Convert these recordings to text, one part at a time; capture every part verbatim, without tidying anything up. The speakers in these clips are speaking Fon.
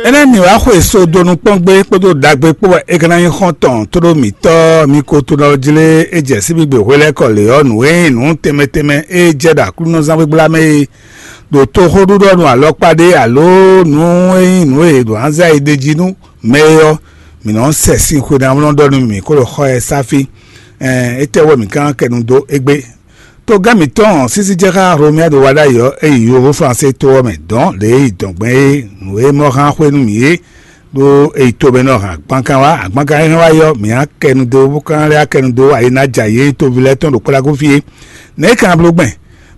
Énɛ́ mǐ wá xwe so donu kpɔ́n gbé kpódó ɖagbe kpó wɛ é ka ná nyí xɔ́ntɔn tóɖó mǐtɔn mi ko tunɔ jlé é jɛ síbígbe hwelɛ́kɔ lě ɔ́, nǔ e nyí nǔ tɛnmɛ tɛnmɛ e jɛ ɖo Aklúnɔzán gbígbla mɛ é ɖo toxóɖuɖɔ nú alɔkpa ɖé alo nǔ e nyí nǔ e ɖo anzá e ɖe jí nú mɛ é ɔ́, mǐ nɔ sɛ sín xwe ná nɔ ɖɔ nú mǐ kó ɖo xɔ ɛ sá fí. Ɛn, étɛ́ wɛ mǐ ka ná kɛ nu dó égbé? Togán mǐtɔn sísí jɛ xá Hlomia ɖo wa ɖ'ayǐ ɔ́, é yi yovo Flansé to ɔ́ mɛ dɔ̌n lě e yi dɔ̌n gbɛn é nǔ e mɔ hán xwé nú mǐ é, ɖó é yi to mɛ nɔ hɛn agbankan wá. Agbankan e hɛn wá yi ɔ́, mǐ á kɛ nu dó bó ka lɛ́ á kɛ nu dó ayǐ ná jɛ ayǐ e toví lɛ́ɛ tɔn ɖo kplákú fí é. Nɛ̌ é ka bló gbɛn,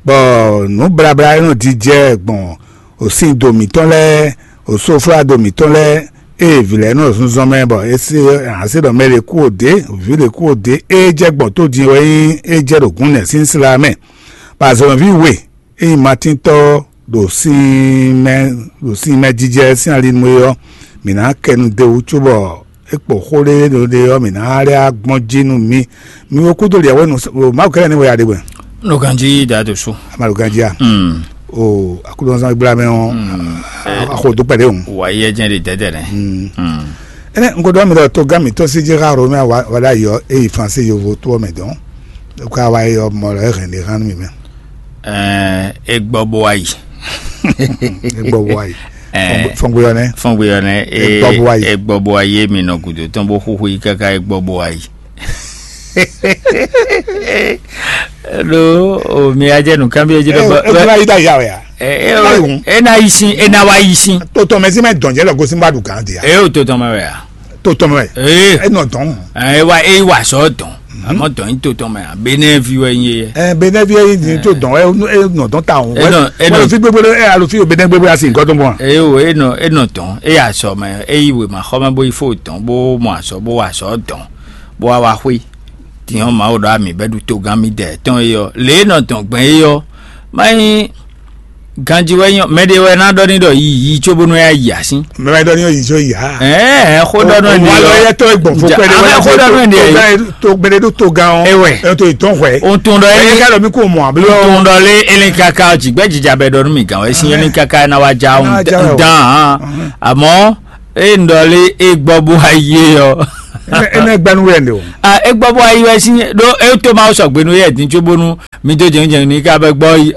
bɔ nǔ blabla e nɔ jijɛ gbɔn osin do mǐtɔn lɛ́ɛ, osóflado mǐtɔn lɛ́ɛ, ée vǐ lɛ́ɛ nɔ zunzɔn mɛ bɔ é se ǎ se ɖɔ mɛ ɖě kú òdě, vǐ ɖě kú òdě, ée jɛ gbɔn tó din wɛ nyí é jɛ ɖo gǔnnɛ sín sla mɛ. Bɔ azɔ̌mɛví we e nyí Matíntɔ́ ɖo sin mɛ ɖo sin mɛ jijɛ sín ali nu é ɔ́, mǐ ná kɛ nu d'é wú cóbɔ é kpo xó ɖé ɖo ɖe ɔ́, mǐ ná lɛ́ gbɔn jí nú mi. Mi wo kúdó liɛ̌wɛ́nu Mawu kɛ́lɛ́ ní wɛ ya ɖe wɛ. Nɔ ganjí da to sú. Ama ɖo ganjí a? Mm. O akúdɔ̀nsán gbla mɛ ɔ́, Mm. Axo dó kpɛɖé o. Wà á yɛ jẹ́ ɖe dɛdɛ nɛ. Mm. Mm. Ɛnɛ nkodo mi ɖɔ to gán mi tɔn sí jɛ xa ro mɛ wa wa ɖa yɔ e yi France yovo to mɛ dɔn. Ko wa yɔ mɔ lɔ hɛn de hàn mi mɛ. Ɛɛ, e gbɔ bo ayi. E gbɔ bo ayi. Ɛɛ, fɔngbeyɔ nɛ. Fɔngbeyɔ nɛ. E gbɔ bo ayi. E gbɔ bo ayi mi nɔ gudo tɔn bo xuxu yi kaka e gbɔ bo ayi. Ɖo o mi adze nǔkanbyɔ́ jí ɖɔ bɔ e gbla yi da ya wɛ ya. E na yi sin, e na wa yi sin. To tɔn mɛ sí mɛ dɔn jɛ lɔ gosin ba ɖu gán di ya. E o to tɔn mɛ wɛ ya. To tɔn mɛ. Ee. E nɔ dɔn. E wa e wa sɔ dɔn. Amɔ dɔn yi to tɔn mɛ a. Benɛ vi wɛ nyi ye. Ɛ benɛ vi yi ni to dɔn ɛ e nɔ dɔn ta o. E nɔ e nɔ fi gbegbe ɛ alo fi o benɛ gbegbe asi nkɔ dɔn bɔ. E o e nɔ e nɔ dɔn e ya sɔ mɛ e yi wema xɔ mɛ bo yi fo dɔn bo mɔ asɔ bo wa sɔ dɔn. Bó wá wá xwé. Tiɲɔ Mawu ɖɔ ami bɛ́ ɖu togán mì dɛ tɔn é ɔ́, lě e nɔ dɔn gbɛn é ɔ́, má nyí ganjí wɛ nyɔ mɛ ɖé wɛ ná ɖɔ ní ɖɔ yi yi có bónú é yi así. Mɛ wɛ ɖɔ ní yi có yi ha. Ɛɛ xó ɖɔ nɔ ní wa lɔ yɛ tɔ gbɔn fún pɛɖɛ wɛ xó ɖɔ nɔ ní yi. To gbɛɖɛ ɖo togán ɔ. Ewɛ. Ɛ to ìtɔn hwɛ. O tún ɖɔ é ka ɖɔ mí kò mɔ àbí. O tún ɖɔ lé elin kaka jìgbẹ́ jìjà bɛ ɖɔ nú mi gàn wɛ sí elin kaka ná wá já ń dán hàn. Àmọ́ e un ɖɔ lé e gbɔ bó wá yi é ɔ́. Énɛ́ gbɛ́nú wɛ ɖe o. A e gbɔ bó wá yi wɛ sín ɖó e tó ma sɔgbe nú yɛ dín có bónú mi dó jɛnjɛn ní ká bɛ gbɔ yi.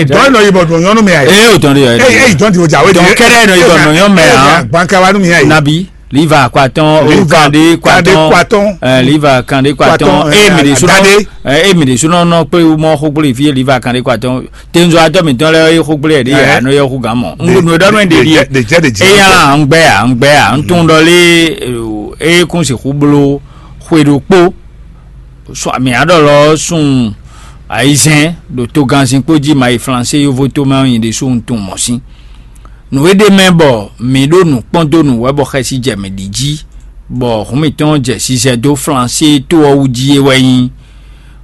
Dɔn nɔ yibɔ dɔn nyɔnu mi ayi. E o tɔn de yɔ. Eyi eyi dɔn ti o ja we de. Dɔn kɛrɛ nɔ yibɔ dɔn nyɔnu mɛ hàn. Gbankawa nu mi ayi. Nabi liva kpatɔn o kande kpatɔn. Ɛ liva kande kpatɔn e mi de sunɔ. Ɛ e mi de sunɔ nɔ kple mɔ xo kple fi liva kande kpatɔn. Tenzɔ atɔ mitɔn lɛ yɔ xo kple yɛ de yɛ anɔ yɔ xo gan mɔ. Ŋgonu e ɖɔ nɔ de di. Eya la ŋgbɛ ya ŋgbɛ ya ŋtun ɖɔ lé e kun si xu blo xwe ɖokpo. Sɔ mi aɖɔ lɔ sun ayizɛn ɖo toganzin kpo jí ma yi flanse yovo to mɛ ɔ́ nyi ɖe so ŋtun mɔ sín. Nǔ e ɖe mɛ bɔ mǐ ɖo nǔ kpɔ́n dó nǔ wɛ bɔ xɛsi jɛ mǐ ɖi jí, bɔ hǔn mǐtɔn jɛ sisɛ dó flanse to ɔ́ wú jí é wɛ nyí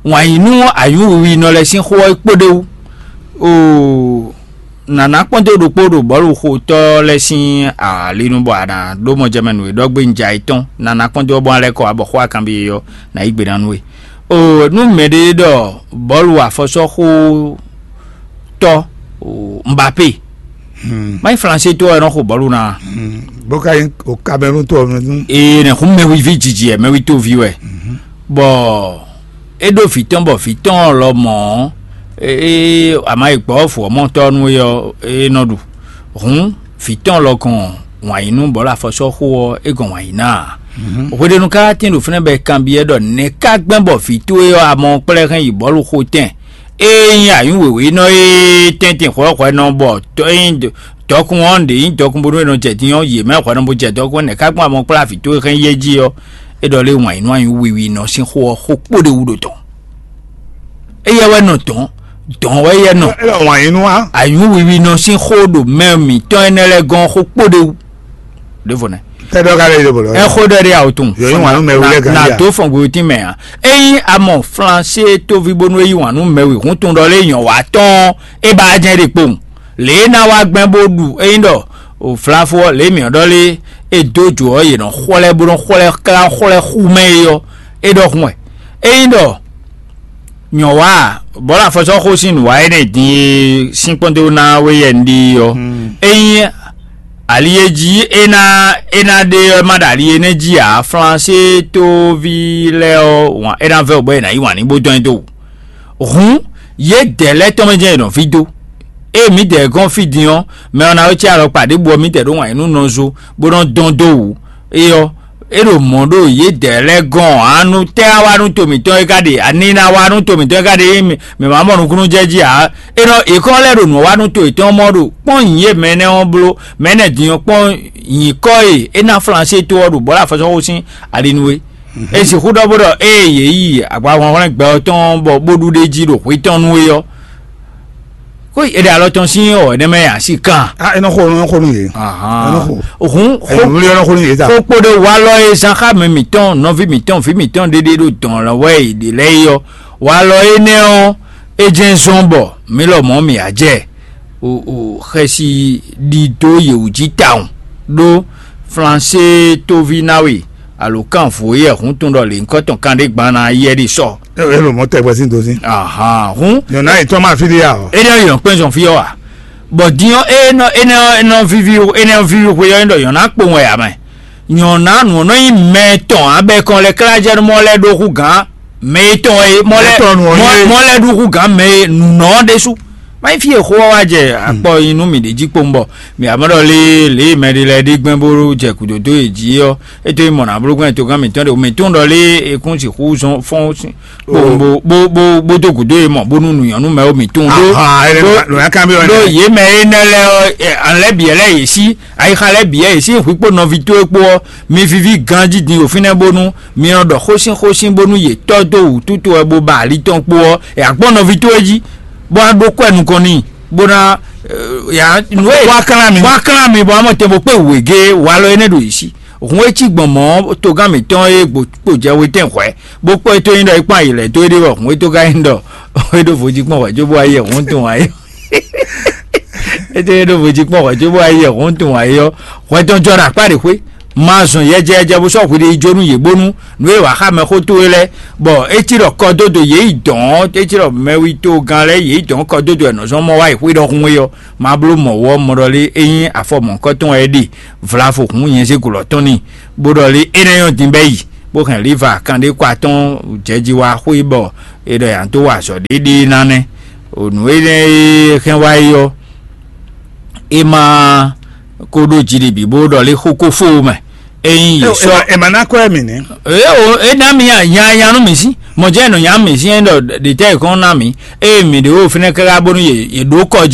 wǎn yí nú anyǔwiwinɔ lɛ́ɛ sín xó ɔ́ kpó ɖé wú. Oo, nǎná kpɔ́n dó ɖokpó ɖo bɔ̌luxotɔ́ lɛ́ɛ sín ali nu bɔ a nǎ ɖó mɔjɛmɛ nǔ e ɖɔ gbé un ja é tɔn. Nǎná kpɔ́n dó ɔ́ bɔ a lɛ́ kɔ abɔ xó akanbi e ɔ́, nǎ yí gbe ná nú we. Oo, nú mɛɖé ɖɔ bɔ̌lu afɔsɔ́xó tɔ́ Mbappé, má nyí flanse tó ɔ́, é nɔ xo bɔ̌lu ná. Bó ka nyí o Cameroun tó ɔ́ nú. Ee, nɛ xún mɛwiví jiji ɛ mɛwi tó vi wɛ. Bɔ é ɖó vǐ tɔn bɔ vǐ tɔn lɔ mɔ̌, ee, ama yi gbɔ̌ fǔ ɔ́ mɔ tɔ́ nú é ɔ́, é nɔ ɖu. Hǔn vǐ tɔn lɔ gɔn wǎn yí nú bɔ̌lu afɔsɔ́xó ɔ́, é gɔn wǎn yí ná ǎ. Hweɖenu ka tín ɖo fínɛ́ bɔ è kanbyɔ́ ɖɔ nɛ̌ ka gbɛ́n bɔ vǐ towe ɔ́ amɔ kplɛ́ hɛn yi bɔ̌lu xo tɛn. Ée nyí anyǔ wěwé nɔ e tɛ́ntin hwɛ̌hwɛ́ nɔ bɔ tɔ́ e nyí dɔkun ɔ́ ɖě nyí dɔkun bónú è nɔ jɛ din ɔ́, yě mɛ hwɛ̌ nɔ bó jɛ dɔkun nɛ̌ ká gbɔn amɔ kplá vǐ towe hɛn yɛ jí ɔ́, é ɖɔ lé wǎn yí nú anyǔ wiwi nɔ sín xó ɔ́ xó kpó ɖé wú ɖo tɔn. Éyɛ́ wɛ nɔ dɔn, dɔn wɛ éyɛ́ nɔ. É wǎn yí nú wa. Anyǔ wiwi nɔ sín xó ɖo mɛ mǐtɔn énɛ́ lɛ́ɛ gɔ́n xó kpó ɖé wú. Ɖěvo nɛ. Tɛdɔ ka lɛ yɔ bolo. Ɛ xó ɖɔ ɖe awo tun. Yɔ yi wanu mɛ wulɛ gan na ya. Do fɔn gbe tin mɛ a. Eyi amɔ flanse tovi bonu eyi wanu mɛ wi hun tun ɖɔ le nyɔ wa tɔn e ba jɛ ɖe kpowun. Le na wa gbɛn bo ɖu eyi ɖɔ o flafo le mi ɖɔ le e do jo ɔ ye nɔ xɔlɛ bo nɔ xɔlɛ kla xɔlɛ xu mɛ yi ɔ e ɖɔ hun wɛ. Eyi ɖɔ Nyɔ̌ wa, bɔ̌ ɖo afɔsɔ́xo sín nǔ wa énɛ́ din e sín kpɔ́ndó ná we yɛ un ɖi ɔ́. Ényí ali e jí é ná é ná ɖe ɔ́ ma ɖo ali énɛ́ jí ǎ, Flansé tóví lɛ́ɛ ɔ́, wǎn é ná vɛ́ wǔ bɔ è nǎ yí wǎn ní bó dɔn ɛ dó wǔ. Hǔn, yědɛɛ lɛ́ɛ tɔn mɛ jɛ́n è nɔ ví dó. Ée mǐdɛɛ gɔ́n fí din ɔ́, mɛ ɔ́ ná wɛ cí alɔkpa ɖěbǔ ɔ́, mǐdɛɛ ɖó wǎn yí nú nɔzo, bó nɔ́ dɔn dó wǔ. É ɔ́, é ɖo mɔ̌ ɖo yědɛɛ lɛ́ɛ gɔ́n ǎ. Nú tɛ́ wá wá nú to mǐtɔn é ka ɖe? Ani ná wá nú to mǐtɔn é ka ɖe? Mǐ mǐ ma mɔ nukúnnú jɛ jí ǎ. É nɔ è kɔn lɛ́ ɖo nǔ wa nú to yětɔn mɔ ɖo kpɔ́n nyǐ e mɛ énɛ́ ɔ́ bló, mɛ énɛ́ din ɔ́ kpɔ́n nyǐkɔ e é ná Flansé to ɔ́ ɖo bɔ̌ ɖo afɔsɔ́xo sín ali nú we. É sixú ɖɔ bó ɖɔ ée yě yi agbahwlɛ́nhwlɛ́n gbɛ ɔ́ tɔn bɔ bó ɖu ɖ'é jí ɖo hwǐ tɔn nú é ɔ́, xó è ɖe alɔ tɔn sín ɔ́, énɛ́ mɛ a sí kan. Ah, é nɔ xo, é nɔ xo nú yě. Ahan. É nɔ xo. Hǔn xó Ɛ̀yìn wúlé ɔ́ nɔ xo nú yě ta. Xó kpo ɖé walɔ e zán xá mɛ mǐtɔn, nɔví mǐtɔn, vǐ mǐtɔn ɖéɖé ɖo dɔn lɔ wɛ è ɖe lɛ́ɛ é ɔ́, walɔ énɛ́ ɔ́, é jɛ́n zɔ́n bɔ mǐ lɔmɔ̌ mǐ á jɛ o o xɛsi ɖidó yě wú jí tawun ɖó Flansé tóví ná we alo kánvǒ yɛ hǔn tun ɖɔ lě nyǐkɔ tɔn kanɖé gban ná yɛ ɖi sɔ. É lo mɔ tɛgbɛ sín dó sín. Ahan, hǔn Nyɔ̌ná yětɔn ma fí ɖé ǎ ɔ́. É ɖɔ yɔn kpɛ́n zɔn fí ɔ́ a? Bɔ din ɔ́, é nɔ é nɔ é nɔ víví é nɔ víví xwe ɔ́, é ɖɔ yɔn ná kpowun wɛ ǎ mɛ. Nyɔ̌ná nǔ ɔ́ nɔ nyí mɛ tɔn ǎ bɔ é kɔn lɛ́ klá jɛ nú mɔ lɛ́ɛ ɖó hú gǎn mɛ yětɔn e mɔ lɛ́ɛ Mɛ tɔn nǔ ɔ́ mɔ- nyí- mɔ lɛ́ɛ ɖó hú gǎn mɛ e nǔnɔ ɔ́ ɖésú. Má nyí fí e xó ɔ́ wá jɛ akpɔ nyi nú mǐ ɖě jí kpowun bɔ mǐ ǎ mɔ ɖɔ lé lě e mɛ ɖé lɛ́ɛ ɖi gbɛn bó jɛ gǔdo dó yě jí ɔ́, é tó nyí mɔ̌ ná bló gbɛn togán mǐtɔn ɖe mǐ tunwun ɖɔ lé e kún sixú zɔn fɔ́n sín kpowun bó bó bó bó dó gǔdo e mɔ bónú nǔnyɔ́nú mɛ ó mǐ tunwun ɖó Ahan, é ɖó- nɔ- nɔ- nɔ- kan bí ɔ́ ɖó nɛnɛ. Yě mɛ énɛ́ lɛ́ɛ ɔ́, ɛ, an lɛ́ bǐ lɛ́ɛ yě sí ayixa lɛ́ɛ bǐ yɛ yě sín hwǐ kpó nɔví towe kpó ɔ́, mi víví ganjí din ɖo fínɛ́ bónú mi nɔ ɖɔ xósín xósín bónú yě tɔ́ dó wǔtútú wɛ bó ba ali tɔn kpó ɔ́, è agbɔ́n nɔví towe jí, bó ná ɖó kwɛ nukɔn n'i, bó ná ɛ, ya nǔ e Bó wá klán mi. Bó wá klán mi, bó wá mɔ tɛn bó kpé wěgé walɔ énɛ́ ɖo yě sí. Hǔn e cí gbɔn mɔ̌ togán mǐtɔn e gbo kpo jɛ wetɛn hwɛ̌, bó kpɔ́ é tó nyí ɖɔ é kpɔ́n ayǐ lɛ́ɛ dó é ɖe wɛ hǔn e tó ka nyí ɖɔ é ɖó vodí kpɔ́n hwɛ̌ cóbó wá yɛ hǔn tun wá yɔ. É tó nyí ɖó vodí kpɔ́n hwɛ̌ cóbó wá yɛ hǔn tun wá yɔ. Hwɛ tɔn jɔ ɖo akpá ɖě xwé, ma zɔn yɛjɛyɛjɛ bó sɔ́ hwiɖe yi jó nú yě bónú nǔ e wǎ xá mɛxó towe lɛ́ɛ, bɔ é cí ɖɔ kɔdódo yě yi dɔ̌n, é cí ɖɔ mɛwítogán lɛ́ɛ yě yi dɔ̌n kɔdódo wɛ nɔ zɔn mɔ wá yi xwé ɖɔhun é ɔ́, ma bló mɔ̌ wú ɔ́, mɔ ɖɔ lé é nyí afɔ mɔ̌hunkɔtɔn wɛ é ɖe, vlavo hǔn nyɛzégǔlɔ tɔn n'i, bó ɖɔ lé é ná nyɔ́ din bɛ́ yi, bó hɛn Liva kanɖékwa tɔn jɛjiwa xwé bɔ è ɖɔ yǎ dó wa azɔ̌ ɖéɖéé ná nɛ́. O nǔ énɛ́ e hɛn wá é ɔ́, é ma ko ɖó jiɖiɖi bó ɖɔ lé xó ko fó mɛ. Ényí yě sɔ́ È ma ná kɔ́ ɛ mì nɛ́. Eo, é ná mi nya nya nú mǐ sí, mɔ̌ jẹ́ nɔ nya mǐ sí é ɖɔ ɖětɛ́ è kɔn ná mǐ, ée mǐ ɖe wo fínɛ́ káká bónú yě yě ɖó kɔ